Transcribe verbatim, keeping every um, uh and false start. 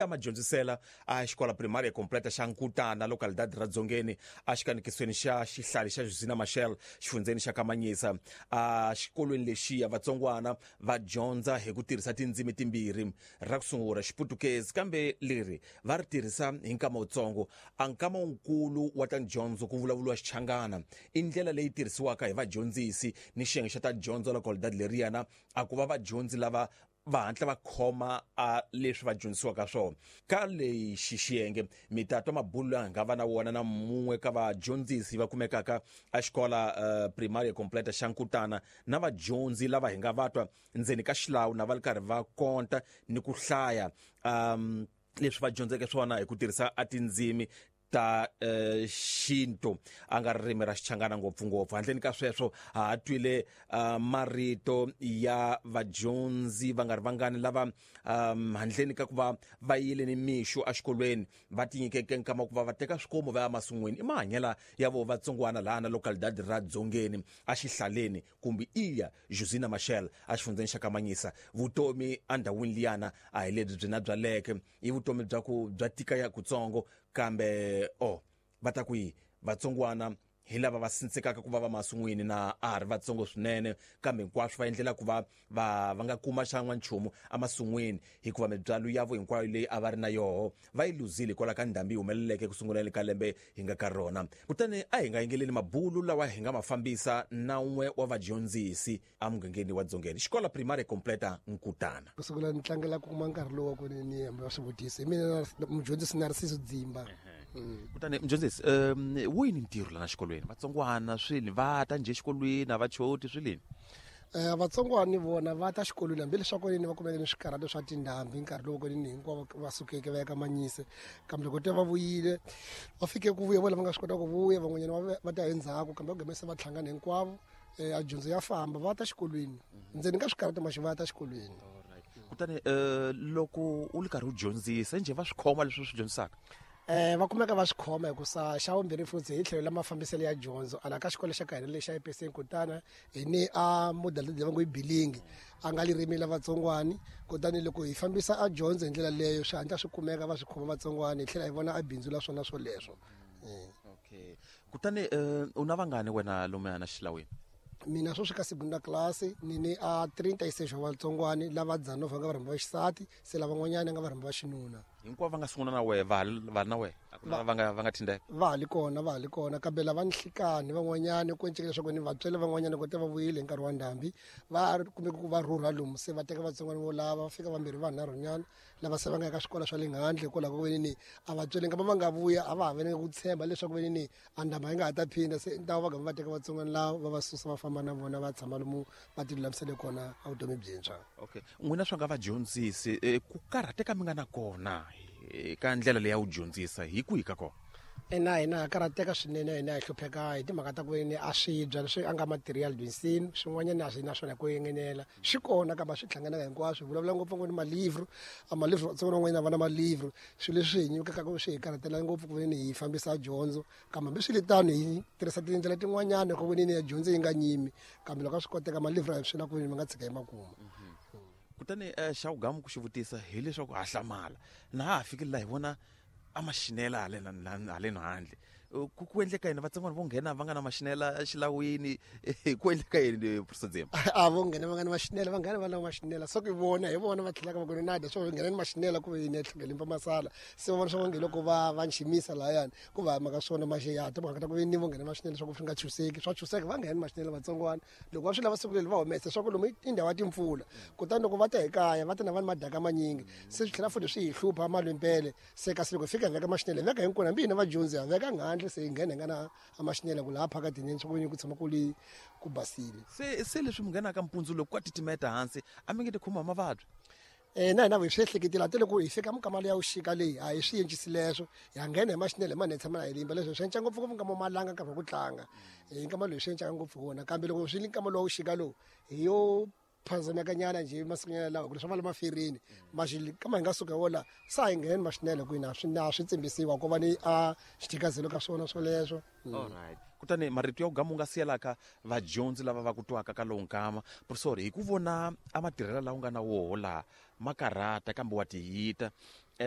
Madyondzisela a xikola primaria completa xa Nkutana, localidade ra Dzongeni, a xikanikisweni xa xihlali xa Josina Machel, xifundzeni xa Kamanyisa. A xikolweni lexiya vatsongwana va dyondza hi ku tirhisa tindzimi timbirhi, ra ku sungula Xiputukezi, kambe leri va ri tirhisa hi nkama wutsongo. A nkama wukulu wa ta dyondzo ku vulavuriwa Xichangana. I ndlela leyi tirhisiwaka hi vadyondzisi ni xiyenge xa ta dyondzo localidade leriyana a ku va vadyondzi lava va hatla va khoma a leswi va dyondzisiwaka swona. Ka lexi xiyenge mi ta twa mabulo lawa hi nga va na wona na mun'we ka vadyondzisi va kumekaka a xikola uh, primaria completa xa Nkutana, na vadyondzi lava hi nga va twa ndzeni ka xilawu na va ri karhi va konta ni ku hlaya um leswi va dyondzeke swona hi ku tirhisa a tindzimi ta uh, xintu, a nga ririmi ra Xichangana ngopfungopfu. Handleni ka sweswo ha ha twile uh, marito ya vadyondzi va nga ri vangani lava um, handleni ka ku va va yile ni mixo exikolweni va tinyikeke nkama ku va va teka swikomu va ya masin'wini. I mahanyela ya vo vatsongwana laha na localidade ra Dzongeni a xihlaleni kumbe iya Josina Machel a xifundzeni xa Kamanyisa. Vutomi endhawini liyana a hi lebyi byi na byaleke, i vutomi bya ku bya tika ya kutsongo, kambe o va ta ku yi vatsongwana hi lava va sindzekaka ku va va masin'wini na a ri vatsongo swinene, kambe hinkwaswo va endlela ku va va va nga kuma xan'wa nchumu emasin'wini, hikuva mibyalo ya vo hinkwayo leyi a va ri na yoho va yi luzile hikwalaho ka ndhambi yi humeleleke ku sunguleni ka lembe hi nga ka rona. Kutani a hi nga yingeleli mabulu lawa hi nga ma fambisa na un'we wa vadyondzisi emugangeni wa Dzongeni, xikola primaria completa Nkutana. Ku sungula ni tlangela ku kuma nkarhi lowu wa ku ni ni hamba va swivutiso. Hi mina mudyondzisi Narciso Dzimba. Kutani mudyondzisi, um wo yini ntirho lana xikolweni? Vatsongwana swini va ta njhe xikolweni, a va choti swilini? Eh vatsongwana vona va ta xikolweni hambileswaku ni va kumeke ni swikarhato swa tindhambi nkarhi lowu ni hinkwavo va sukeke va ya ka Manyise, kambe loko te va vuyile va fike ku vuya vona va nga swi kota ku vuya, van'wanyana va ta endzhaku, kambe va gome se va hlangana hinkwavo. Eh a dyondzo ya famba, va ta xikolweni ndzeni ka swikarhato maxi va ta xikolweni. Kutani eh loko u ri karhi u dyondzisa njhe va swi khoma leswi u swi dyondzisaka? Eh va kumeka va swi khoma hikusa xa vumbirhi futhi hi tlhelo la mafambiselo ya dyondzo ala ka xikolo xa ka hina lexi xa E P C Nkutana hi ni a model leyi va ngo i bilingi a nga ririmi la vatsongwani. Kutani loko hi fambisa a dyondzo hi ndlela leyo swi hatla swi kumeka va swi khoma vatsongwani, hi tlhela hi vona a bindzu la swona swoleswo. Okay, kutani u na vangani wena lomu na xilawini? Mina sweswi ka segunda class ni ni a trinta e seis wa vatsongwani lava dzana va nga varhambi va xisati, se lavan'wanyana nga varhambi va xinuna. Hinkwavo va nga sungula na wehe va va na wehe, a ku na va nga va nga thindeka? Va ha li kona, va ha li kona, kambe lava ni nhlikani van'wanyana ku enceka leswaku ni vatswele van'wanyana ku te va vuyile hi nkarhi wa ndhambi va kumbe ku va rhurha lomu, se va teka vatsongwana vo lava va fika vambirhi vanharhunyana lava se va nga eka swikolo swa le handle hikwalaho ka veni ni a vatswele nkama va nga vuya a va ha veni ku tshemba leswaku veni ni a ndhambi yi nga ha ta phinda, se ntawo va gama va teka vatsongwana lava va va susa va famba na vona va tshama lomu va ti lulamisele kona a vutomi byintshwa. Okay, n'wina swa nga vadyondzisi ku karhateka mi nga na kona ka ndlela leyi ya wu dyondzisa hi kwihi ka kona? Ina hina ha karhateka swinene, hina hi hlupheka hi timhaka ta ku ni a swibya leswi a nga material dyondzisini swin'wanyana a swi na swona ku engenela swi kona, kambe swi hlanganaka hinkwaswo. Hi vulavula ngopfu ngopfu ni malivro, a malivro vatsongwana van'wanyana va na malivro, swilo leswi hi nyikaka swi hi karhatela ngopfu ku veni hi fambisa dyondzo, kambe hambiswiritano hi tirhisa tindlela tin'wanyana ku veni ya dyondzo yi nga nyimi, kambe loko a swi koteka malivro a hi swi la ku veni mi nga tshika hi makuma. Kutani xa wugamu ku xi vutisa hileswaku ha hlamala na ha ha fikile laha hi vona a maxinela haleni haleni handle, ku ku endleka yini vatsongwana vo nghena va nga na maxinela xilawini? Ku endleka yini Professor Dzimba? A vo nghena va nga na maxinela, va nghena va na maxinela so ku vona hi vona va tlhelaka va ku na dya swo nghena ni maxinela ku yini tlhela masala, se va vona swa nge loko va va nximisa lahayani ku va mhaka swona maxi ya timhaka ta ku ni vo nghena maxinela swa ku swi nga chuseki, swa chuseka va nghena maxinela vatsongwana loko va swi lava siku leri va humesa swa ku lomu i ndhawu ya timpfula, kutani loko va ta hi kaya va ta na vanhu madaka manyingi se swi tlhela futhi swi hi hlupha malwempele, se kasi loko hi fika hi veka maxinela hi veka hinkwenu hambi hina vadyondzi ha veka nghandle se hi nghena hi nga na a maxinela ku laha phakatini swa ku ku tshama ku li ku basile. Se se leswi mi nghenaka mpundzu loko ka titimeta hansi a mi nge ti khoma mavabyi? Eh na hina hi swi ehleketile a loko hi fika minkama leya vuxika leyi a hi swi encisi leswo hi nghena hi maxinela hi manene tshama na hi limba leswo swi enca ngopfu ngopfu nkama wa malanga nkarhi wa ku tlanga hi nkama lowu swi encaka ngopfu wona, kambe loko swi li nkama lowa vuxika lowu hi yo phazamekanyana nje masikunyana lawa ku leswi va le mafereni maxi kama hi nga suka wola sa hi ngheni maxinela ku ina swi na swi tsimbisiwa ku va ni a xithikazelo ka swona swoleswo. Alright, kutani marito ya wugamu nga siyelaka vadyondzi lava va ku twaka ka lowu nkama, professor, hi ku vona a matirhelo lawa u nga na woho laha ma karhata kambe wa tiyita, Um